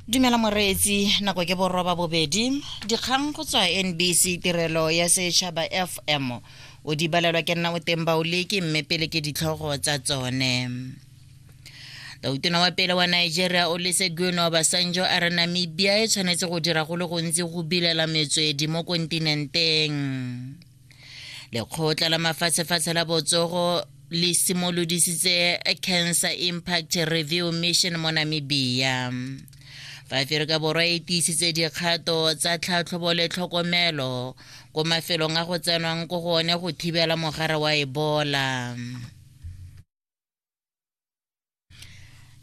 Dumela moreetsi, nako ke boroba bobedi. Dikgang go tswa NBC tirelo ya setšhaba FM. O di balelwa ke nna o teng baoleki mme pele ke ditlhogo tsa tsone. Tautona wa pele wa Nigeria Olusegun Obasanjo a re Namibia e tshwanetse go dira go le gontsi go bilela metswedi mo kontinenteng. Lekgotla la mafatshefatshe la botsogo le simolodisitse Cancer Impact Review Mission mo Namibia. Fa Aferika Borwa e tiisitse dikgato tsa tlhatlhobo le tlhokomelo ko mafelong a go tsenwang ko go one go thibela mogare wa Ebola.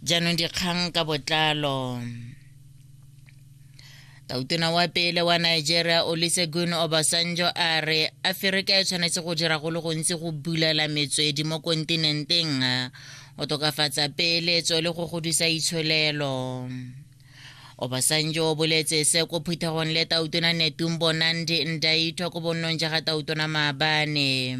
Jaanong dikgang ka botlalo. Tautona wa pele wa Nigeria Olusegun Obasanjo a re Aferika e tshwanetse go dira go le gontsi go bulela metswedi mo kontinenteng go tokafatsa peeletso le go godisa itsholelo. Obasanjo o boletse se ko phuthegong le Tautona Netumbo Nandi Ndaitwah ko bonnong ja ga Tautona maabane.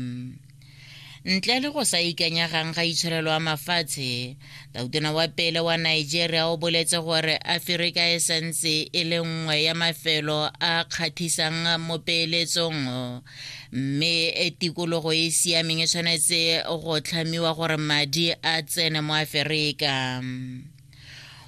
Ntle le go sa ikanyegang ga itsholelo a mafatshe, tautona wa pele wa Nigeria o boletse gore Aferika e santse e le nngwe ya mafelo a kgathisang mo peeletsong mme e tikologo e e siameng e tshwanetse go tlhamiwa gore madi a tsene mo Aferika.